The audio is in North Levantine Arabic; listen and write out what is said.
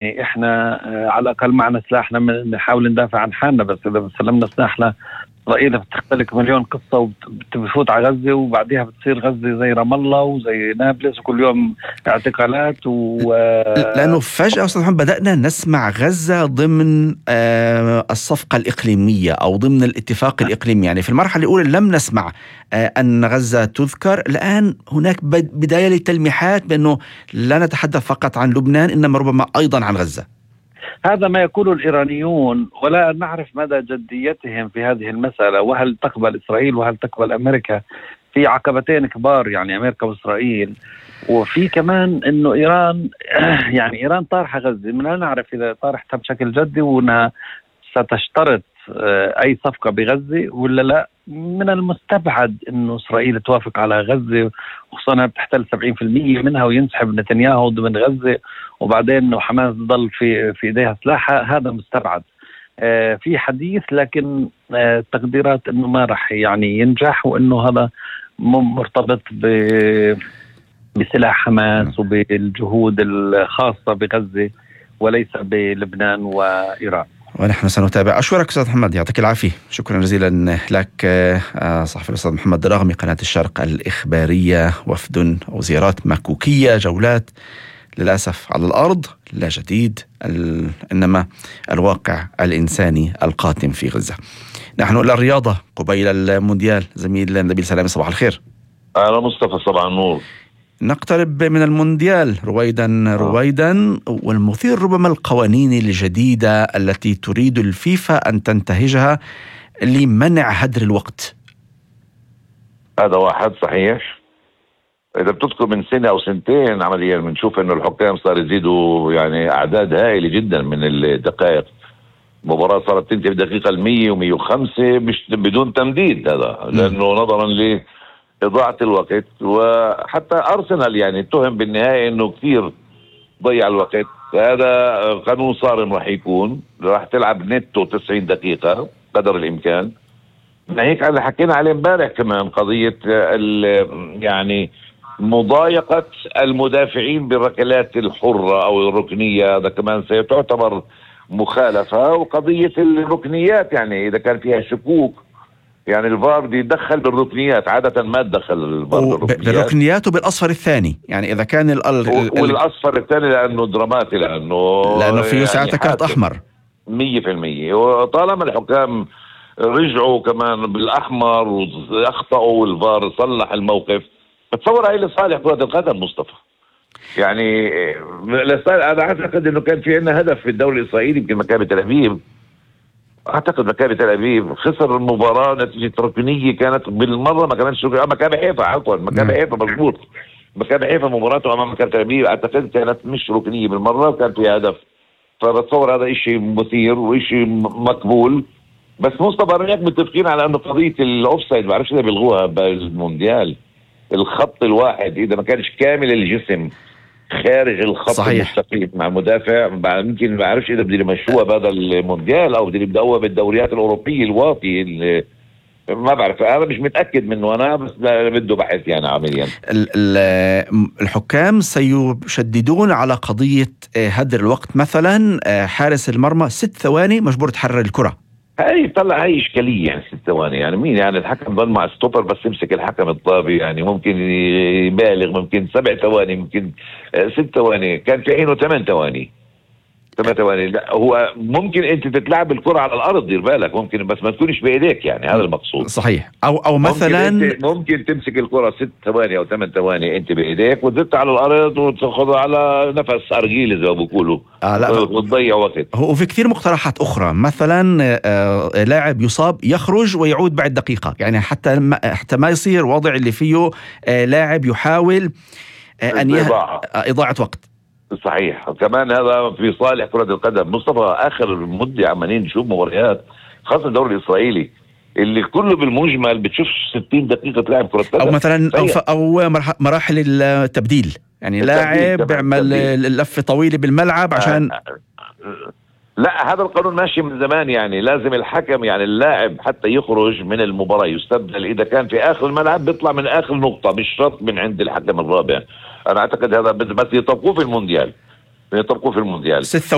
احنا على الاقل معنا سلاحنا نحاول ندافع عن حالنا، بس اذا سلمنا سلاحنا اسرائيل بتختلق مليون قصه وبتفوت على غزه، وبعديها بتصير غزه زي رام الله وزي نابلس وكل يوم اعتقالات لانه فجاه استاذ محمد بدانا نسمع غزه ضمن الصفقه الاقليميه او ضمن الاتفاق الاقليمي. يعني في المرحله الاولى لم نسمع ان غزه تذكر. الان هناك بدايه للتلميحات بانه لا نتحدث فقط عن لبنان انما ربما ايضا عن غزه. هذا ما يقوله الإيرانيون، ولا نعرف مدى جديتهم في هذه المسألة، وهل تقبل إسرائيل وهل تقبل أمريكا. في عقبتين كبار، يعني أمريكا وإسرائيل، وفي كمان إنه إيران يعني إيران طارحة غزة، من لا نعرف إذا طارحتها بشكل جدي وأنها ستشترط أي صفقة بغزة ولا لا. من المستبعد إنه إسرائيل توافق على غزة، خصوصا أنها بتحتل 70% منها، وينسحب نتنياهو ضمن غزة، وبعدين إنه حماس تضل في إيديها سلاحها. هذا مستبعد. في حديث، لكن تقديرات إنه ما رح يعني ينجح، وإنه هذا مرتبط بسلاح حماس وبالجهود الخاصة بغزة وليس بلبنان وإيران. ونحن سنتابع. أشكرك أستاذ محمد، يعطيك العافية. شكرا جزيلا لك. صحفي الأستاذ محمد دراغمي، قناة الشرق الإخبارية. وفد أو زيارات مكوكية، جولات للأسف على الأرض، لا جديد، إنما الواقع الإنساني القاتم في غزة. نحن إلى الرياضة قبيل المونديال. زميل نبيل سلامي، صباح الخير. أهلا مصطفى، صباح النور. نقترب من المونديال رويدا والمثير ربما القوانين الجديدة التي تريد الفيفا أن تنتهجها لمنع هدر الوقت. هذا واحد صحيح. إذا بتذكر من سنة أو سنتين عمليا بنشوف إنه الحكام صار يزيدوا يعني أعداد هائلة جدا من الدقائق. مباراة صارت تنتهي بدقيقة 100 و105 مش بدون تمديد. هذا لأنه نظرا إضاعة الوقت، وحتى أرسنال يعني اتهم بالنهاية إنه كثير ضيع الوقت. هذا قانون صارم راح تلعب نتو 90 دقيقة قدر الإمكان. ناهيك على حكينا عليه امبارح كمان قضية يعني مضايقة المدافعين بالركلات الحرة أو الركنية، هذا كمان سيتعتبر مخالفة. وقضية الركنيات يعني إذا كان فيها شكوك، يعني الفار دي يدخل بالركنيات، عادة ما تدخل الفار بالركنيات وبالأصفر الثاني. يعني إذا كان والأصفر الثاني لأنه دراماتي، لأنه فيه ساعتها كارت أحمر 100%. وطالما الحكام رجعوا كمان بالأحمر وأخطأوا والفار صلح الموقف، بتصور هاي لصالح كرة القدم مصطفى. يعني أنا أعتقد أنه كان في عندنا هدف في الدوري الإسرائيلي، يمكن مكابي تل أبيب. أعتقد مكابي تل أبيب خسر المباراة نتيجة ركنية كانت بالمرة، ما كانتش مكابي حيفا، عفوا مكابي حيفا مضبوط. مكابي حيفا مباراته أمام مكابي تل أبيب أعتقد كانت مش ركنية بالمرة وكان فيها هدف. فبتصور هذا إشي مثير وإشي مقبول. بس مصطفى رأيك متفقين على أنه قضية الأوفسايد ما بعرفش إذا بيلغوها بالمونديال، الخط الواحد إذا ما كانش كامل الجسم خارج الخط المستقيم مع مدافع، ممكن ما بعرفش إذا بدي يمشوها بهذا المونديال أو بدي يبدأوها بالدوريات الأوروبية الواطي. ما بعرف، أنا مش متأكد منه أنا، بس بده بحث يعني عمليا. الحكام سيشددون على قضية هدر الوقت. مثلا حارس المرمى 6 ثواني مجبور تحرر الكرة. هاي طلع هاي إشكالية يعني 6 ثواني. يعني مين يعني الحكم ضل مع ستوبر بس يمسك الحكم الطابي، يعني ممكن يبالغ، ممكن 7 ثواني، ممكن 6 ثواني، كان في حينه 8 ثواني. 8 ثواني لا، هو ممكن انت تتلعب الكرة على الارض، دير بالك، ممكن بس ما تكونش بايديك، يعني هذا المقصود. صحيح. او مثلا ممكن تمسك الكرة 6 ثواني او 8 ثواني انت بايديك وتزت على الارض وتاخذها على نفس ارجيل زي ما بيقولوا، وتضيع وقت. وفي كثير مقترحات اخرى، مثلا لاعب يصاب يخرج ويعود بعد دقيقة، يعني حتى ما يصير وضع اللي فيه لاعب يحاول ان اضاعة وقت. صحيح. كمان هذا في صالح كرة القدم مصطفى. آخر مدة عمالين نشوف مباريات خاصة الدوري الإسرائيلي اللي كله بالمجمل بتشوف 60 دقيقة لعب كرة قدم، أو مثلا أو مراحل التبديل، يعني لاعب بيعمل اللفة طويلة بالملعب عشان لا، هذا القانون ماشي من زمان. يعني لازم الحكم يعني اللاعب حتى يخرج من المباراة يستبدل إذا كان في آخر الملعب بيطلع من آخر نقطة، مش شرط من عند الحكم الرابع. أنا أعتقد هذا بس يطبقوه في المونديال. يطبقوا في المونديال.